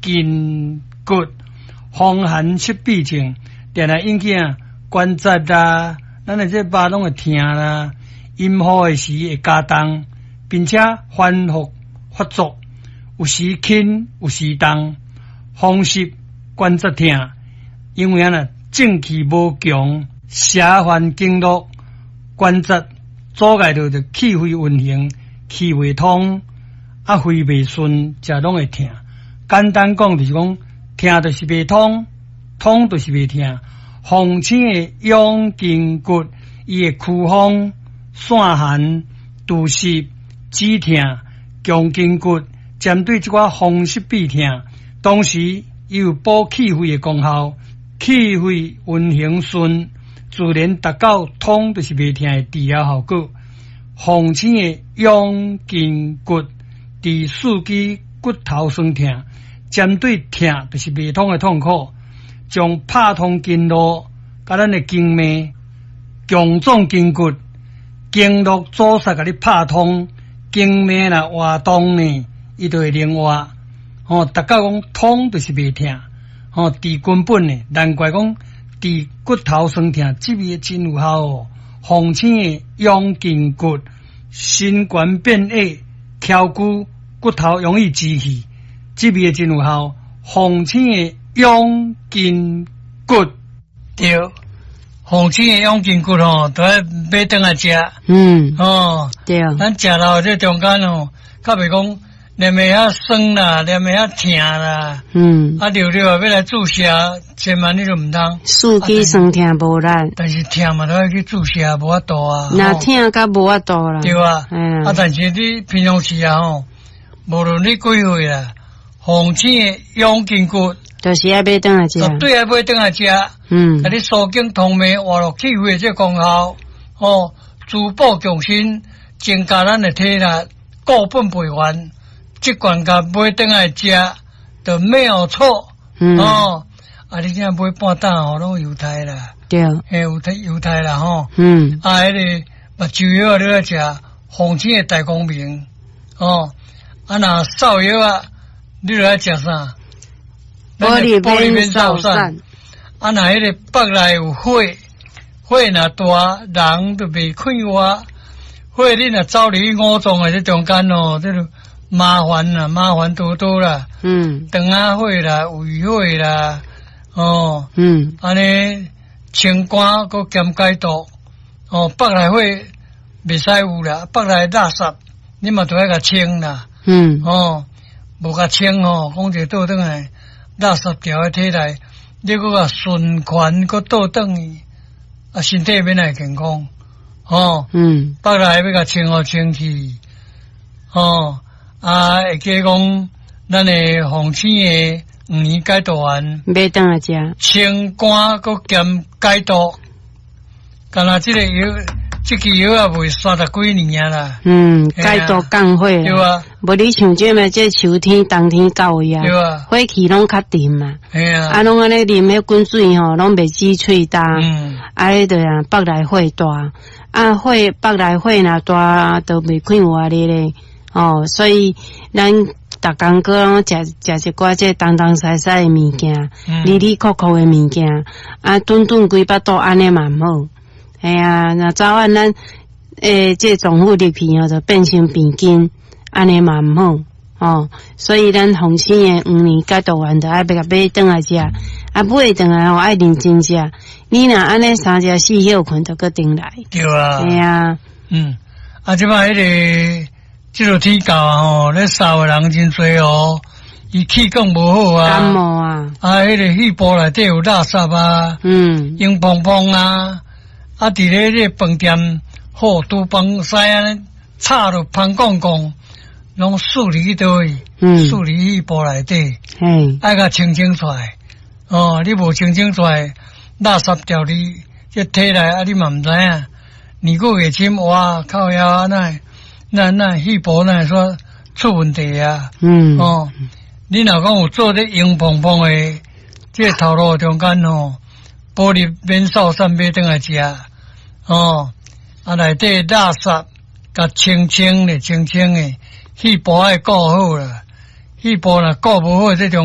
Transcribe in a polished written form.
筋骨，風寒濕痹症，定定引起啊關節啦，咱的這肉攏會疼啦，陰雨的時會加重，並且反覆發作，有時輕有時重，風濕關節疼，因為按呢正氣無強，邪犯經絡關節阻礙著就氣血運行，氣袂通，啊肺袂順，才攏會疼。簡單講就是講，疼就是袂通，通就是袂疼。鳳青的養筋骨，伊會驅風、散寒、除濕、止疼、強筋骨，針對這寡風濕痹疼，同時伊有補氣血的功效，氣血運行順，自然達到通就是袂疼的治療效果。鳳青的養筋骨，治四肢骨頭痠疼，針對疼就是袂通的痛苦，將拍通經絡，佮咱的經脈，強壯筋骨，經絡阻塞共你拍通，經脈若活動呢，伊就會靈活。吼，達到講通就是袂疼，吼，治根本的，難怪講治骨頭痠疼，這味真有效哦。鳳青的養筋骨，身懸變矮，翹骨骨頭容易支氣，這味真有效。鳳青的養筋骨，對，鳳青的養筋骨吼，都愛買轉來食。咱食落這中間吼，較袂講連袂遐酸啦，連袂遐疼啦。啊，著著啊，欲來注射，千萬你都毋通。四肢痠疼無力。但是疼嘛，都愛去注射，無法度啊。若疼較無法度啦。對啊。啊，但是你平常時啊吼，無論你幾歲啦，鳳青的養筋骨，就是愛買轉來食。絕對愛買轉來食。共你疏經通脈、活絡氣血這功效，吼，滋補強身，增加咱的體力，固本培元，這罐共買轉來食，就沒有錯。哦，啊，你這買半擔吼，攏猶太啦。嘿，猶太猶太啦吼。啊，彼个目睭藥啊，你愛食鳳青的大光明，哦，啊，若掃藥啊，你著愛食啥？保利免掃散。啊，若彼个腹內有火，火若大，人就袂快活。火你若走入去五臟的這中間哦，這就麻煩啦，麻煩多多啦。腸仔火啦，胃火啦，哦。按呢清肝閣兼解毒，哦，腹內火袂使有啦，腹內垃圾你嘛著愛共清啦。哦，無共清吼，講一個倒轉來，垃圾牢佇體內，你閣共循環閣倒轉去，啊，身體欲哪會健康？哦，腹內欲共清予清氣，哦，啊，會記講咱的鳳青的黃連解毒丸，買轉來食，清肝閣兼解毒，敢若這個藥，這支藥啊賣三十幾年啊啦。解毒降火。對啊。無你像這麼這秋天、冬天到位啊，火氣攏較沉嘛。啊，攏按呢啉彼滾水吼，攏袂止喙焦。啊，彼就啊，腹內火大，啊，火腹內火若大，就袂快活咧咧。哦，所以咱逐工閣攏食食一寡這東東西西的物件，哩哩扣扣的物件，啊，頓頓規腹肚按呢嘛毋好。嘿啊，若早晚咱這臟腑入去吼，就變成病根，按呢嘛毋好。哦，所以咱鳳青的黃連解毒丸就愛欲共買轉來食，啊，買轉來吼愛認真食。你若按呢三食四歇睏，就閣轉來。對啊。嘿啊。啊，這擺彼个這个天到啊吼，咧嗽的人真濟哦，伊氣管無好啊。感冒啊。啊，彼个肺部內底有垃圾啊。硬膨膨啊，啊，佇咧這個飯店好廚房師按呢炒落芳摃摃，攏欶入去佗位？欶入肺部內底。愛共清清出來。哦，你無清清出來，垃圾牢佇這體內啊，你嘛毋知影。年久月深，哇，靠腰啊，那那那肺部哪會說出問題啊？哦，你若講有做這硬膨膨的，這個頭路中間吼，保利免掃散買轉來食，哦，啊內底垃圾共清清的，清清的，肺部愛顧好啦，肺部若顧無好，這種。